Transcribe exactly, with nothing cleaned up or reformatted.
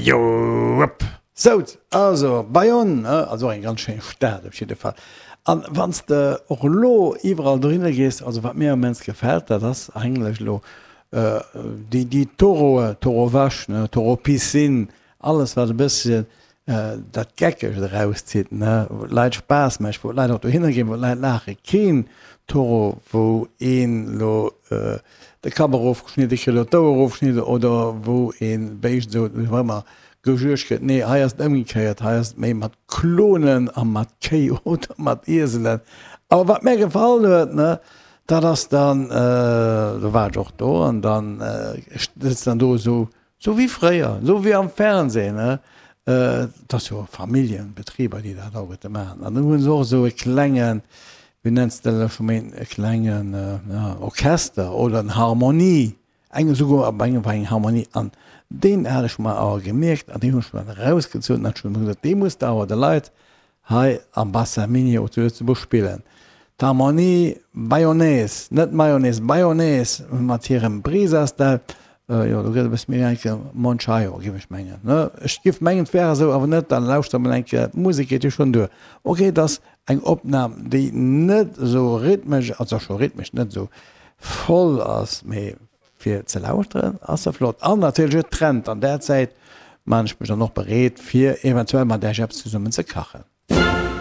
Joep! Sout, also Bayonne, ne, also och eng ganz schéin Stad op jidde Fall. An wann s de och elo iwwerall dohinner gees, also wat mir immens gefält, dat ass eigentlech elo déi, déi Taureaue, Taureau vache, ne, Taureau piscine, alles wat e bësschen dat Geckegt erauszitt, ne, wou d'Leit Spaass mécht, wou d'Leit och dohinner ginn, wou d'Leit laachen. Keen Taureau, wou een elo de Kapp erofgeschnidde kritt oder d'Ouer erofgeschnidde oder wou ee Béischt esou wéi och ëmmer gejuegt gëtt. Nee, hei ass et ëmgekéiert, hei ass et méi mat Klonen a mat Kéi oder mat Ieselen. Awer wat mär gefall huet, ne, dat ass dann, do war ech och do an dann sëtzt dann do esou, Sou wéi fréier, sou wéi am Fernsehen, ne? Et ass jo Familljenbetriber, déi dat alleguerte maachen. An do hu se och esou e klengen, wéi nenns de dat elo scho méi, e klengen Orchester oder en Harmonie, eng esouguer op engem war eng Harmonie. An deen hat ech mer awer gemierkt an deen hunn ech mer dann erausgezunn an ech hunn gesot, dee muss de awer de Leit hei am Bassin Minier zu Lëtzebuerg spillen. D'Harmonie Bayonnaise, net Mayonnaise, Bayonnaise mat hirem Brisa-Style, jo do gëtt e bësse méi eng Kéier Monchaio, géif ech mengen, ne? Ech géif mengen, et wär esou, awer net, dann lauschter mol eng Kéier, d'Musek geet jo schonn duer. Ok, et ass eng Opnam, déi net esou rhythmesch, also scho rhythmesch, net esou voll ass, mee fir ze lauschteren ass se flott. An natierlech et trennt, an där Zäit maan ech mech dann och bereet, fir eventuell mat Äech eppes zesummen ze kachen.